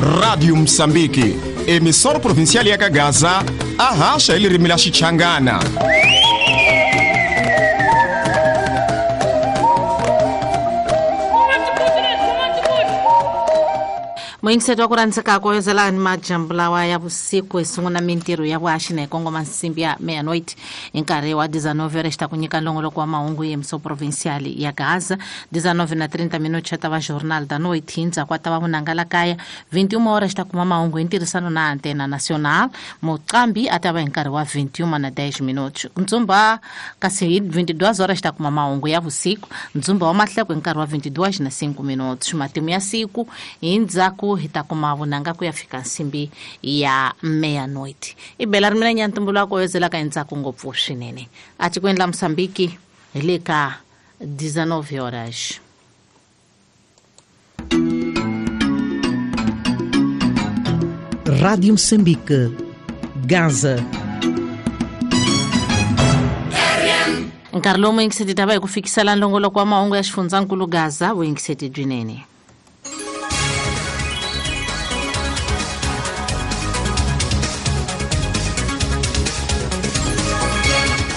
Rádio Moçambique, emissora provincial ya Gaza, arracha ele rimila Xichangana. Moyingiseti wa ku rhandzeka ku yozelani majambu lawa ya vusiku hi sungula mintirho ya vuhaxi na hi kongoma nsimbi ya meia-noite hi nkarhi wa 19 horas ta ku nyika nongoloko wa mahungu hi emissão provincial ya Gaza. 19:30 minutos ta va Jornal da Noite, hi ndzhaku ta va Vunanga Kaya. 21 horas ta kuma mahungu hi ntirhisano na Antena Nacional. Muqambi a ta va hi nkarhi wa 21:10 minutos. Ndzumba kasi hi 22 horas ta kuma mahungu ya vusiku. Ndzumba wa mahleko hi nkarhi wa 22:05 minutos. Matimu ya siku hi ndzhaku hi ta kuma vunanga ku ya fika nsimbi ya meia-noite. I bela ri mina nyantumbulu wa ku yozelaka endzhaku ngopfu swinene. A tikweni la Mozambique hi le ka 19 horas. Rádio Moçambique, Gaza. Nkarhi lowu muyingiseti ta va hi ku fikisela nongoloko wa mahungu ya xifundzankulu Gaza, vuyingiseti byinene.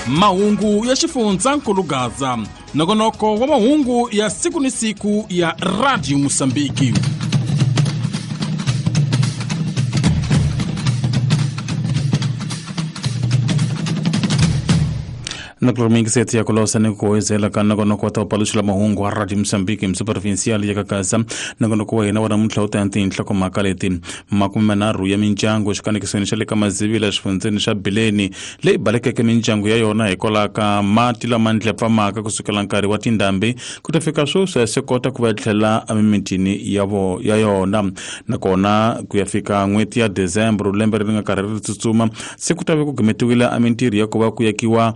Mahungu ya xifundzankulu Gaza, nongonoko wa mahungu ya siku ni siku ya Radio Mozambique. Nakulumikiseti ya kulosa ni kuwezela ka nongonoko wa taupaluxela mahungu wa Radio Mozambique mso provincial ya Gaza. Nongonoko wa hina wa namuntlha wu ta ya tinhlokomhaka leti: 30 ya mindyangu xikanekisweni xa le ka Mazivila xifundzeni xa Bileni leyi balekeke mindyangu ya yona hikwalaho ka mati lama ndlepfamaka kusukela nkarhi wa tindhambi ku ta fika sweswi se kota ku va tlhela emimitini ya yona. Nakona ku ya fika n'hweti ya December lembe leri nga karhi ri tsutsuma se ku ta ve ku gimetiwile emintirho ya ku va ku yakiwa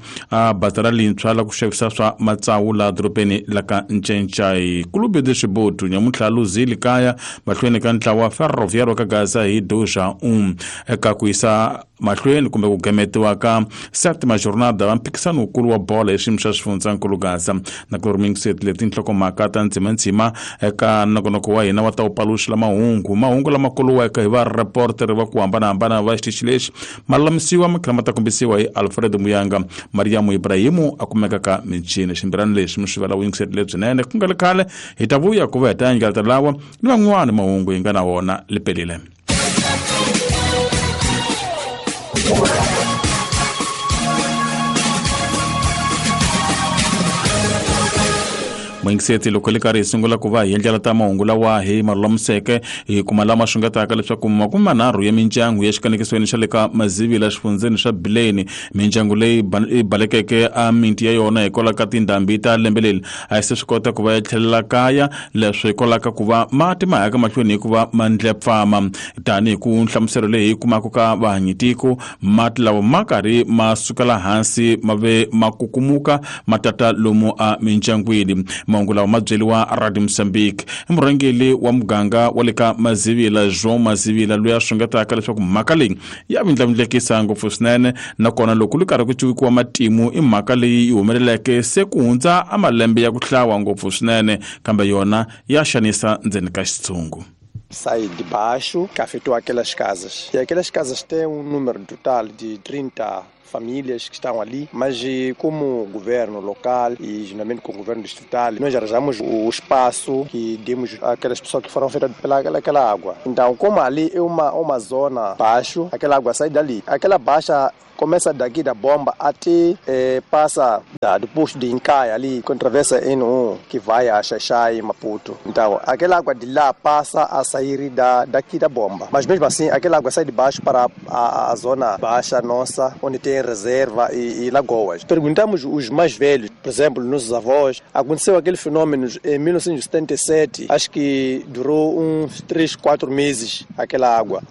bazara lintshwa la ku xavisa swa matsawu la dorobeni la ka Ncencai. Clube de Xibotu nyamuntlha luzile kaya mahlweni ka ntlawa Ferroviário ka Gaza hi 2-1 eka ku yisa mahlweni kumbe ku gemetiwa ka septima jornada va mphikisano wukulu wa bolo hi xiyimo xa xifundzankulu Gaza. Na ku ri leti nhlokomhaka ta ndzimandzima eka nongonoko wa hina wa ta wu mahungu mahungu lama kuluweke hi vareporter va ku hambanahambana va xitichi lexi ma lulamisiwa ma tlhela ma ta kombisiwa hi Alfred Muyanga. Mariamu Ibrahimu a kumeka ka michini. Ximbirani lexi mi swi vela vuyingiseri lebyinene ku nga le khale hi ta vuya ku va hi ta endlela lawa ni van'wani mahungu hi nga na wona lipelile. Muyingiseti loko li karhi hi sungula ku va hi endlela ta mahungu lawa hi ma lulamiseke hi kuma lama xungetaka leswaku 30 ya mindyangu ya xikanekisweni xa le ka Mazivila xifundzeni xa Bileni, mindyangu leyi yi balekeke a miti ya yona hikwalaho ka tindhambi ta lembe leri a yi se swi kota ku va ya tlhelela kaya, leswi hikwalaho ka ku va mati ma yaka mahlweni hikuva ma ndlepfama. Tanihi ku nhlamuselo leyi hi kumaka ka vahanyitiko, mati lawa ma karhi ma sukela hansi ma ve ma kukumuka ma tata lomu a mindyangwini. Mahungu lawa ma byeriwa Radio Mozambique i murhangeri wa muganga wa le ka Mazivila, João Mazivila, loyi a xungetaka leswaku mhaka leyi ya vindlavindlekisa ngopfu swinene. Nakona loko li karhi ku cuvikiwa matimu i mhaka leyi yi humeleleke se ku hundza a malembe ya ku hlawa ngopfu swinene, kambe yona ya xanisa ndzeni ka xitshungu. Sai de baixo, que afetou aquelas casas. E aquelas casas têm um número total de 30 famílias que estão ali, mas como governo local e juntamente com o governo distrital, nós arranjamos o espaço que demos àquelas pessoas que foram afetadas pela água. Então, como ali é uma zona baixo, aquela água sai dali. Aquela baixa começa daqui da bomba até passa do posto de Incaia ali, que atravessa N1, que vai a Xaxai e Maputo. Então, aquela água de lá passa a sair daqui da bomba. Mas mesmo assim, aquela água sai de baixo para a zona baixa nossa, onde tem reserva e lagoas. Perguntamos os mais velhos, por exemplo, nossos avós, aconteceu aquele fenômeno em 1977, acho que durou uns 3, 4 meses aquela água.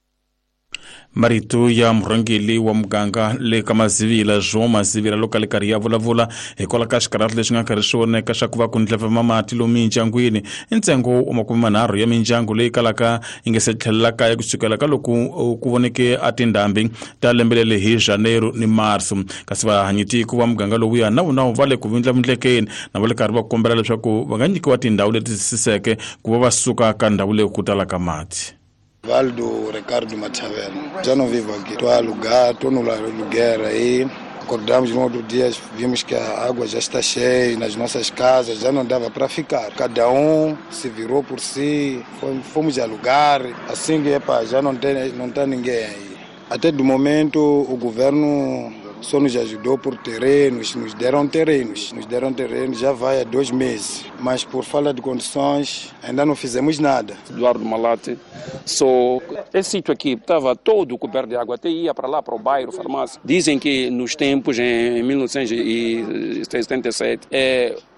Marito ya murhangeri wa muganga le ka Mazivila, João Mazivila, loko a li karhi ya vulavula hikwalaho ka xikarhati lexi nga karhi xi voneka xa ku va ku ndlepfema mati lomu mindyangwini. I ntsengo wa 30 ya mindyangu leyi kalaka yi nga se tlhelela kaya kusukela ka loko ku voneke a tindhambi ta lembe leri hi Janeiro ni Marso. Kasi vahanyitiko va muganga lowuya na vona va le ku vindlavindlekeni na va le karhi va kombela leswaku va nga nyikiwa tindhawu leti siseke ku va va suka ka ndhawu leyi ku talaka mati. Valdo Ricardo Machavela. Já não vivo aqui. Estou a alugar, estou no aluguer aí. Acordamos no outro dia, vimos que a água já está cheia nas nossas casas, já não dava para ficar. Cada um se virou por si, fomos alugar. Assim que epa, já não está ninguém aí. Até do momento o governo só nos ajudou por terrenos, nos deram terrenos já vai há 2 meses, mas por falta de condições ainda não fizemos nada. Eduardo Malate, só esse sítio aqui estava todo coberto de água, até ia para lá, para o bairro, farmácia. Dizem que nos tempos, em 1977,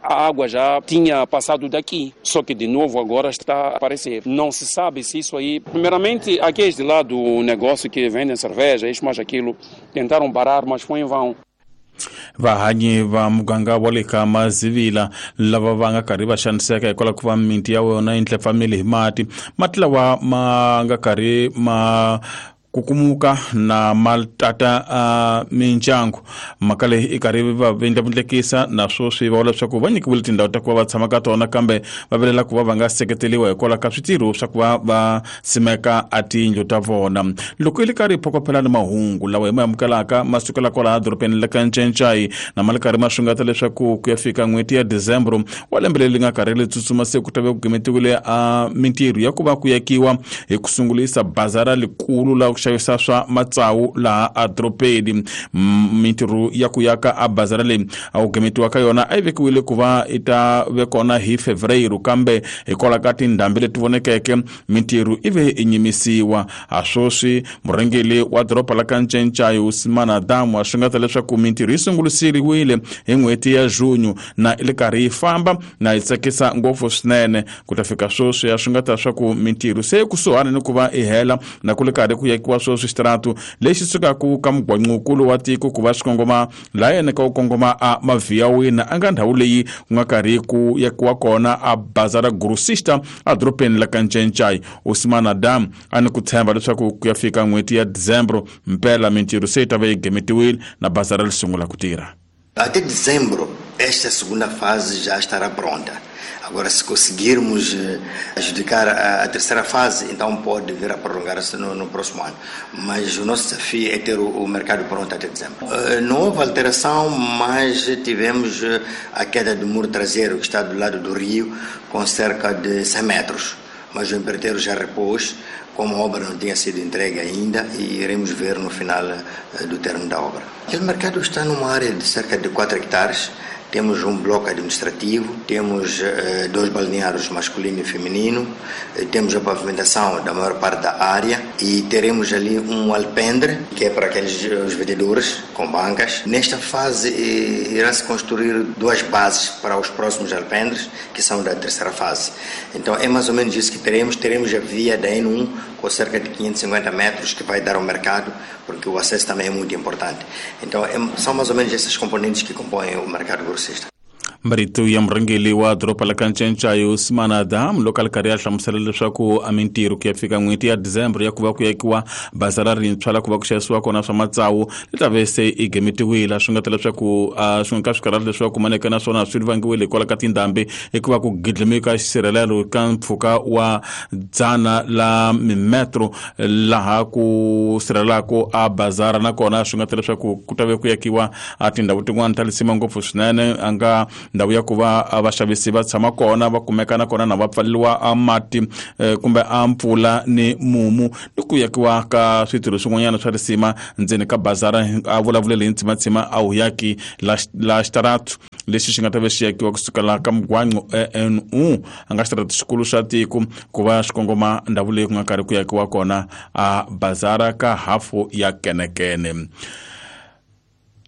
a água já tinha passado daqui, só que de novo agora está a aparecer. Não se sabe se isso aí... Primeiramente, aqueles de lá do negócio que vendem cerveja, isso mais aquilo, tentaram parar, mas foi em vão. Vahanyi va muganga wa le ka Mazivila lava va nga karhi va xaniseka hikwalaho ku va miti ya wona yi ndlepfamile hi mati. Mati lawa ma nga karhi ma kukumuka na maltata mindyangu. Mhaka leyi i karhi va vindlavindlekisa na sweswi va vula leswaku va nyikiwile tindhawu ta ku va va tshama ka tona, kambe va vilela ku va va nga seketeriwa hikwalaho ka switirho swa ku va va simeka a tiyindlu ta vona. Loko i le karhi hi phokophela ni mahungu lawa hi ma amukelaka ma sukela kwalaha dorobeni la ka Ncencai na ma le karhi ma xungeta leswaku ku ya fika n'hweti ya December wa lembe leri nga karhi ri tsutsuma se ku ta ve ku gimetiwile a mintirho ya ku va ku yakiwa hi ku sungulisa bazara likulu la ku xavisa swa matsawu laha a dorobeni. Mintirho ya ku yaka a bazara leyi a ku gimetiwa ka yona a yi vekiwile ku va i ta ve kona hi Fevereiro, kambe hikwalaho ka tindhambi leti vonekeke mintirho i ve i nyimisiwa. A sweswi murhangeri wa doroba la ka Ncencai Usman Adamu a xungeta leswaku mintirho yi sungurisiriwile hi n'hweti ya Junho na i le karhi yi famba na yi tsakisa ngopfu swinene. Ku ta fika sweswi a xungeta leswaku mintirho se kusuhani ni ku va i hela na ku le karhi ku yakiwa sweswi xitaratu lexi sukaka ka mugwanqukulu wa tiko ku va xi kongoma laha yena ka ku kongoma a Maviyawina a nga ndhawu leyi ku nga karhi ku yakiwa kona a bazara grossista a dorobeni la ka Ncencai. Usman Adam a ni ku tshemba leswaku ku ya fika n'hweti ya December mpela mintirho se yi ta va yi gemetiwile na bazara ri sungula ku tirha. Até dezembro, esta segunda fase já estará pronta. Agora, se conseguirmos adjudicar a terceira fase, então pode vir a prolongar-se no próximo ano. Mas o nosso desafio é ter o mercado pronto até dezembro. Não houve alteração, mas tivemos a queda do muro traseiro, que está do lado do rio, com cerca de 100 metros. Mas o empreiteiro já repôs, como a obra não tinha sido entregue ainda, e iremos ver no final do termo da obra. Aquele mercado está numa área de cerca de 4 hectares. Temos um bloco administrativo, temos 2 balneários masculino e feminino, temos a pavimentação da maior parte da área e teremos ali um alpendre, que é para aqueles os vendedores com bancas. Nesta fase irá-se construir 2 bases para os próximos alpendres, que são da terceira fase. Então é mais ou menos isso que teremos. Teremos a via da N1 com cerca de 550 metros que vai dar ao mercado, porque o acesso também é muito importante. Então são mais ou menos essas componentes que compõem o mercado grossista. Marito ya murhangeri wa doroba la ka Ncencai Usman Adam loko a ri karhi a hlamusela leswaku a mintirho ku ya fika n'hweti ya December ya ku va ku yakiwa bazara rintshwa la ku va ku xavisiwa kona swa matsawu li ta ve se i gemetiwile. Swi nga ta leswaku swi nga ka swikarhati leswi va kumaneke na swona swi vangiwile hikwalaho ka tindhambi hikuva ku gidlimika xisirhelelo ka mpfhuka wa 100 la mimetro laha ku sirhelelaka a bazara, nakona swi nga ta leswaku ku ta ve ku yakiwa a tindhawu tin'wana ta lisima ngopfu swinene a nga ndhawu ya ku va vaxavisi va tshama kona va kumeka nakona na va pfaleriwa a mati kumbe a mpfula ni mumu ni ku yakiwa ka switirho swin'wanyana swa risima ndzeni ka bazara. A vulavulele hi ntsimatsima a wu yaki la xitaratu lexi xi nga ta ve xi yakiwa kusukela ka mugwanqo NU a nga xitaratu xikulu xa tiko ku va xi kongoma ndhawu leyi ku nga karhi ku yakiwa kona a bazara ka hafu ya kenekene.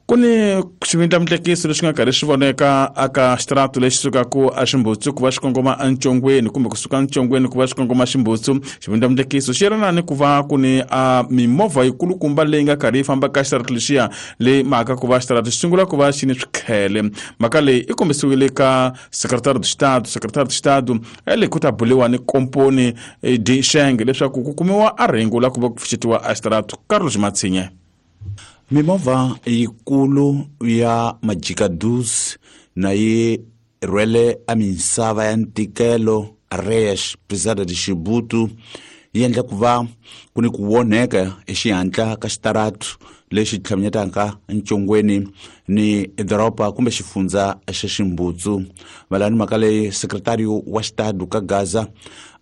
Ku ni xivindlamutlekiso lexi nga karhi xi voneka aka xitaratu lexi sukaka a Ximbutsu ku va xi kongoma eNcongweni kumbe kusuka eNcongweni ku va xi kongoma Ximbutsu. Xivindlamutlekiso xi yelana ni ku va ku ni a mimovha yikulukumba leyi nga karhi yi famba ka xitaratu lexiya leyi mhaka ku va xitaratu xi sungula ku va xi ni swikhele. Mhaka leyi i kombisiwile ka Secretário de Estado. Secretário de Estado le ku ta buliwa ni komponi di Shenge leswaku ku kumiwa a rhengu la ku va ku pfuxetiwa a xitaratu. Carlos Matsinye. Mimovha yikulu ya majikadus na yi rhwele a misava ya ntikelo Areias Pesada de Chibuto yi endla ku va ku ni ku onheka hi xihatla ka xitaratu lexi tlhaminyetaka ncongweni ni doroba kumbe xifundza xa Ximbutsu. Mayelana mhaka leyi, sekretariyo wa xitadu ka Gaza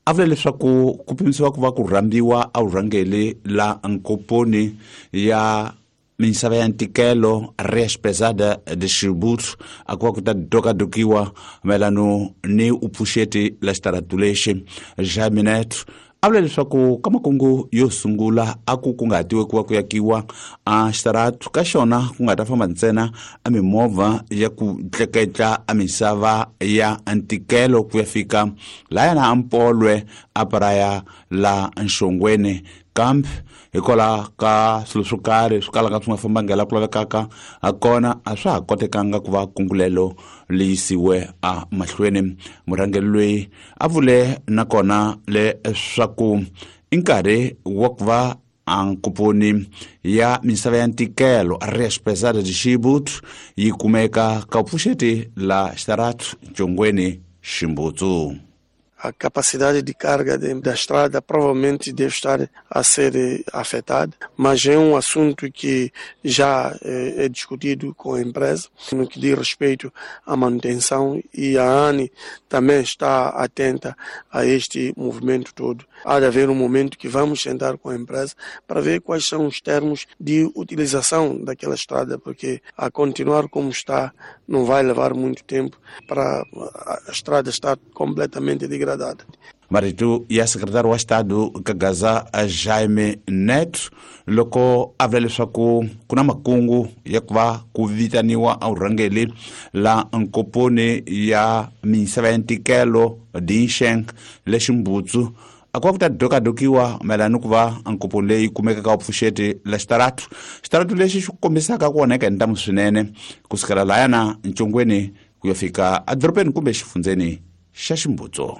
a vula leswaku ku pimisiwa ku va ku rhambiwa a vurhangeli la nkoponi ya misava ya ntikelo Rias Pesada de Ximbutsu a ku va ku ta dokadokiwa mayelano ni upfuxeti la xitaratu lexi. Jaime Neto a vula leswaku ka makungu yo sungula a ku kunguhatiwe ku va ku yakiwa a xitaratu ka xona ku nga ta famba ntsena a mimovha ya ku tleketla a misava ya ntikelo ku ya fika lahayana a Mpolwe a paraya la Nxongweni, kambe hikwalaho ka swilo swo karhi swi kalaka swi nga fambangi laha ku lavekaka ha kona a swa ha kotekanga ku va kungulelo li yisiwe a mahlweni. Murhangeri loyi a vule nakona leswaku i nkarhi wa ku va a nkoponi ya misava ya ntikelo Rias Pesada de Ximbutsu yi kumeka ka vupfuxeti la xitaratu Ncongweni Ximbutsu. A capacidade de carga da estrada provavelmente deve estar a ser afetada, mas é um assunto que já é discutido com a empresa, no que diz respeito à manutenção, e a ANE também está atenta a este movimento todo. Há de haver um momento que vamos sentar com a empresa para ver quais são os termos de utilização daquela estrada, porque a continuar como está não vai levar muito tempo para a estrada estar completamente degradada. Marito ya sekretari wa xitadu ka Gaza Jaime Neto loko a vula leswaku ku na makungu ya ku va ku vitaniwa a vurhangeli la nkoponi ya misava ya ntikelo Dinsheng le Ximbutsu a ku va ku ta dokadokiwa mayelana ni ku va nkoponi leyi kumekaka vupfuxeti la xitaratu. Xitaratu lexi xi kombisaka ku onheka hi ntamu swinene kusukela lahayana Ncongweni ku ya fika edorobeni kumbe xifundzeni xa Ximbutsu.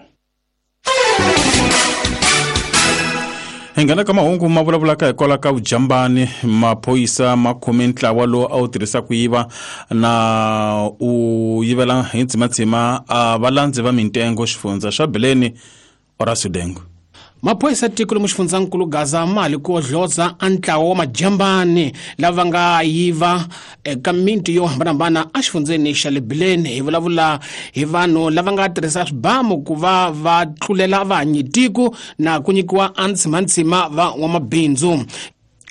Hi nghena ka mahungu ma vulavulaka hikwalaho ka vujambani. Maphorisa ma khome ntlawa lowu a wu tirhisa ku yiva na u yivela hi ndzimandzima a valandzi va mintengo xifundza xa Bileni Horacio Dengo. Maphorisa tiko lomu xifundzankulu Gaza mali ku odloza a ntlawa wa majambani lava nga yiva eka miti yo hambanahambana exifundzeni xa le Bileni. Hi vulavula hi vanhu lava nga tirhisa swibamu ku va va tlulela vahanyi tiko na ku nyikiwa a ntsimantsima va n'wamabindzu.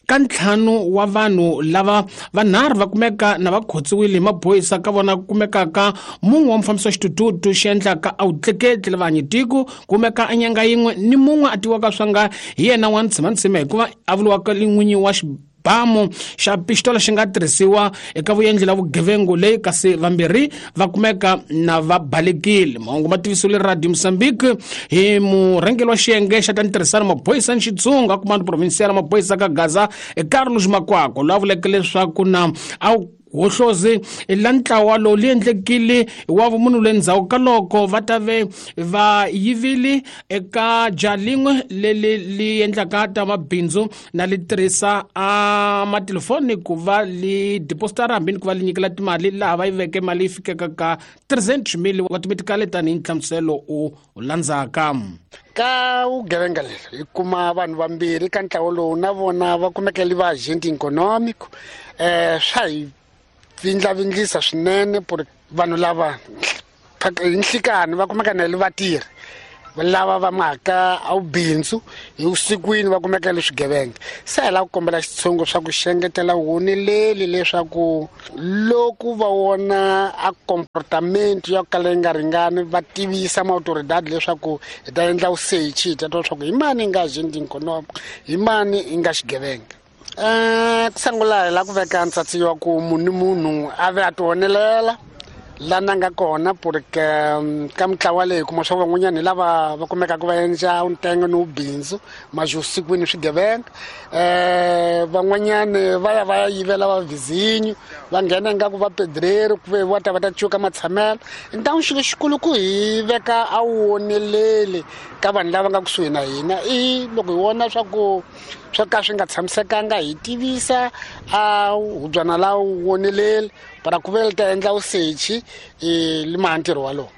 Ka ntlhanu wa vanhu lava vanharhu va kumeka na va khotsiwile hi maphorisa, ka vona ku kumekaka mun'we wa mufambisi wa xitututu xi endlaka a wu tleketli lava hanyi tiko, kumeka a nyanga yin'we ni mun'we a tiwaka swa nga hi yena wa ntsimantsima hikuva a vuriwaka n'winyi wa xibamu xa pistola xi nga tirhisiwa eka vuendli la vugevengu leyi, kasi vambirhi va kumeka na va balekile. Mahungu ma tivisiwile Radio Mozambique hi murhangeri wa xiyenge xa ta ntirhisano maphorisa ni Xitsonga Comando Provincial maphorisa ka Gaza Carlos Makwako, loyi a vuleke leswaku na a hohlozi la ntlawa lowu li endlekile wa vumunhu le ndzhaku ka loko va ta ve va yivile eka ja lin'we leri li endlaka ta mabindzu na li tirhisa a matelefoni ku va li depositara hambi ni ku va li nyikela timali laha va yi veke mali yi fikaka ka 300,000 wa timetikale tanihi nhlamuselo u landzaka. Ka vugevenga leri hi kuma vanhu vambirhi ka ntlawa lowu na vona va kumeka li va agente econômico. Swa hi vindlavindlisa swinene por vanhu lava hi nhlikani va kumeka na le vatirhi lava va mhaka a vubindzu hi vusikwini va kumeka le swigevenga. Se hi lava ku kombela xitshungu swa ku xengetela woneleli leswaku loko va vona a comportamento ya ku kala yi nga ringani va tivisa maautoridad leswaku hi ta endla vusechi, hi ta twa leswaku hi mani yi nga agent economic, hi mani yi nga xigevenga. Ku sungula hi lava ku veka ntsatsi wa ku munhu ni munhu a ve a ti onelela la na nga kona, porque ka mitlawa leyi kuma swa van'wanyana hi lava va kumekaka va endla ntengo ni vubindzu mavusikwini swigevenga. Van'wanyani va ya va ya yivela va vizinyo, va nghena ingaku va pedreri ku ve va ta va ta cuka matshamelo. Ntamu xilo xikulu ku hi veka a woneleli ka vanhu lava nga kusuhi na hina, i loko hi vona swa ku swo ka swi nga tshamisekanga hi tivisa a hubyana la woneleli para ku ve li ta endla vusechi li maha ntirho walowo.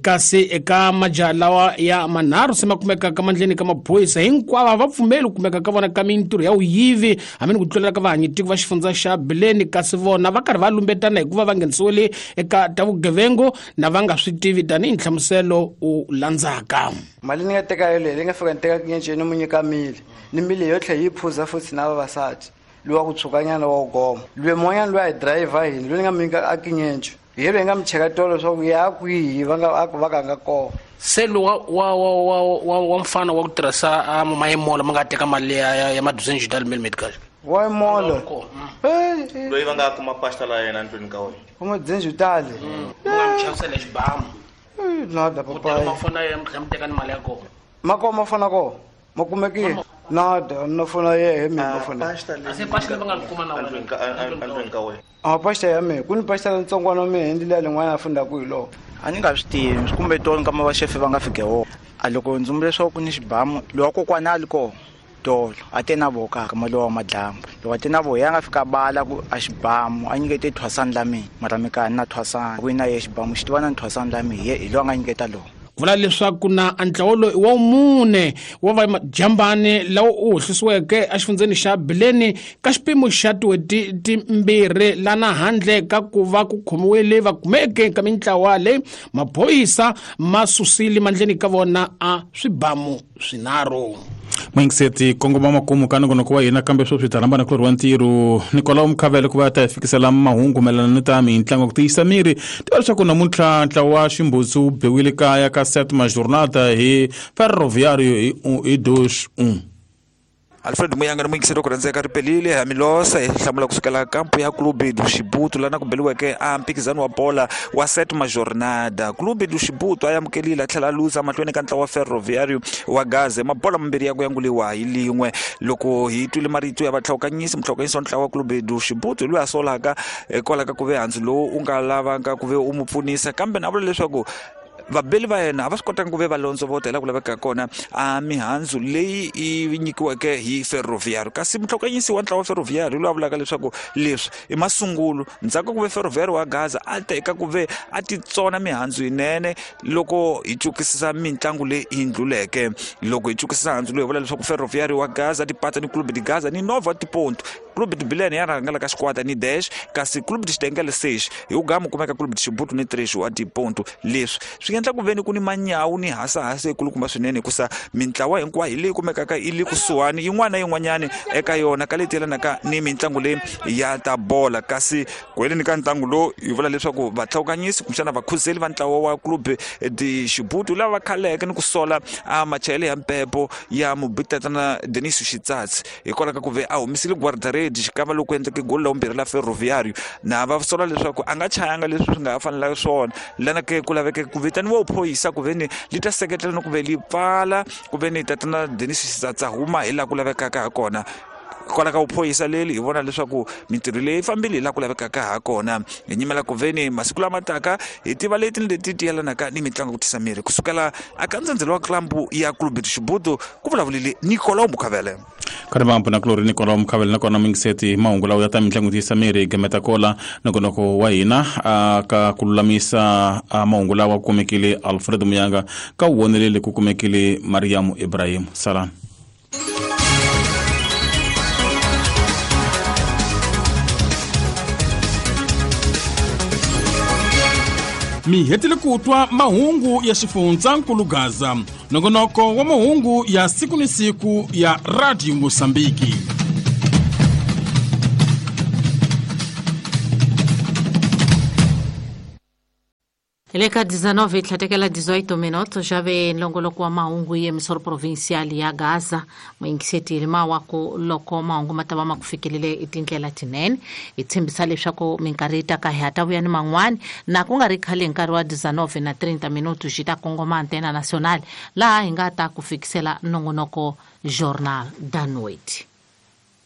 Kasi eka majaha lawa ya manharhu se ma kumekaka mandleni ka maphorisa, hinkwavo a va pfumeli ku kumeka ka vona ka mintirho ya vuyivi hambi ni ku tlulela ka vahanyitiko va xifundza xa Bileni, kasi vona va karhi va lumbetana hikuva va nghenisiwile eka ta vugevengu na va nga swi tivi, tanihi nhlamuselo u landzaka. Mali ni nga teka yoleyo leyi nga fika ni teka kinyenceni ni mu nyika mili ni mili yo tlhela yi phuza futhi na vavasati loyi wa ku tshukanyana wa ku goma loyi mun'wanyana loyi a hi dirayivha hini loyi ni nga mu nyika a kinyenco hi loyi nga mu cheka tolo leswaku ya kwihi va nga va ka nga kona. Se lowu wa mfana wa ku tirhisa mayimolo ma nga teka mali ya maduzenji dal mil medical wa molo loyi va nga kuma pasta la yena ndlwini ka wena u madzenji tale u nga mu chavisela xibamu nada papayi mafona ya mi teka ni mali ya kona ma kona mafona kona ma kumekile nada na fona yehe mina mafona se pasta va nga kuma na wena ndlwini ka wena a pasta ya mina ku ni pasta ntsongwana wa mina hi ndlela lin'wana a fundaku hi loko a ni nga swi tivi kumbe tolo nkama va xefe va nga fike wona a loko ndzi vula leswaku ku ni xibamu lowa kokwana a li kona tolo a te na voho kaka mali wa madlambu loko a te na voho ya nga fika bala ku a xibamu a nyikete thwasani la mina mara mikani na thwasani ku na ye xibamu xi tiva na thwasani la mina hi loyi a nga nyiketa lowo. Vula leswaku na ntlawa loyi wa mune wa vajambani lawa u hohlisiweke exifundzeni xa Bileni ka xipimo xa tin'hweti timbirhi lana handle ka ku va ku khomiwile va kumeke ka mintlawa leyi maphorisa ma susile mandleni ka vona a swibamu swinharhu. Mwingiseti kongoma makumu ka nongonoko wa hina, kambe sweswi ta rhamba na kulorhi wa ntirho Nicolau Mkhavele ku va ta hi fikisela mahungu mayelana ni ta mintlangu ku tiyisa miri. Tiva leswaku namuntlha ntlawa wa Ximbutsu wu biwile kaya ka Sétima Jornada hi Ferroviário hi 2-1. Alfred Muyanga ni muyingiseri ku rhandzeka ri pelile Hamilosa hi hlamula kusukela kampu ya Clube do Chibuto lana ku beliweke a mphikizano wa bola wa Sétima Jornada. Clube do Chibuto a amukelile a tlhela a luza mahlweni ka ntlawa wa Ferroviário wa Gaza mabola mambirhi ya ku yanguliwa hi lin'we. Loko hi twile marito ya vatlhawukanyisi, mutlhawukanyisi wa ntlawa wa Clube do Chibuto loyi a solaka hikwalaho ka ku ve handzu lowu u nga lavanga ku ve u mu pfunisa, kambe na vula leswaku vabeli va yena a va swi kotanga ku ve va londzovota hi laha ku lavekaka kona a mihandzu leyi yi nyikiweke hi Ferroviário. Kasi mutlhokanyisi wa ntlawa wa Ferroviário loyi a vulaka leswaku leswi i masungulo ndzhaku ku ve Ferroviário wa Gaza a teka ku ve a titsona mihandzu yinene loko hi cukisisa mitlangu leyi yi ndluleke. Loko hi cukisisa handzu loyi hi vula leswaku Ferroviário wa Gaza tipatsa ni Clube de Gaza ni Nova Tiponto. Clube de Bilene ya rhangela ka xikwata ni dash, kasi Clube de Xitengele 6 hi ugamu kumeka Clube de Xibutu ni 3 wa tiponto. Leswi swi endla ku veni ku ni manyawu ni hasahasa yikulukumba swinene hikusa mintlawa hinkwayo leyi kumekaka yi le kusuhani yin'wana na yin'wanyani eka yona ka leti yelanaka ni mitlangu leyi ya ta bola. Kasi ku heleni ka ntlangu lowu hi vula leswaku vatlhawukanyisi kumbexana vakhuzeli va ntlawa wa Clube de Xibutu lava va khaleke ni ku sola a machayele ya mpepo ya mubitatana Denis Xitsatsi hikwalaho ka ku ve a humisile guardaredi xikava loko endleke goli la vumbirhi la Ferroviário, na va sola leswaku a nga chayanga leswi swi nga ha fanelanga swona lana ke ku laveke ku vitaniwa vuphorisa ku veni li ta seketela ni ku ve li pfala ku ve ni tatana Denis Xitsatsi a huma hi laha ku lavekaka ha kona. Kwala ka vuphorisa leli hi vona leswaku mintirho leyi fambile hi laha ku lavekaka ha kona. Hi nyimela ku veni masiku lama taka hi tiva leti ni leti ti yelanaka ni mitlangu ku tisa miri kusukela aka ndzhendzelo wa klambu ya Clube de Xibuto, ku vulavulile Nicolau Mukhavele. Khari vambu na kulori Nicolau Mukhavele. Nakona mingiseti mahungu lawa ya ta mitlangu tiyisa miri gameta kola nongonoko wa hina ka ku lulamisa mahungu lawa ku kumekile Alfred Muyanga, ka wu vonelele ku kumekile Mariam Ibrahim. Salani. Mi hetile ku twa mahungu ya xifundzankulu Gaza, nongonoko wa mahungu ya siku ni siku ya Radio Mosambiki. Hi le ka 19 hi tlhatekela 18 minutos xa ve nlongoloko wa mahungu ya emisoro provincial ya Gaza. Muyingiseti mawaku loko mahungu ma ta va ma ku fikelele hi tindlela tinene. Hi tshembisa leswaku minkarhi yi taka hi ta vuya ni man'wani na ku nga ri khale hi nkarhi wa 19 na 30 minutos xi ta kongoma Antena Nacional laha hi nga ta ku fikisela nongonoko Jornal da Noite.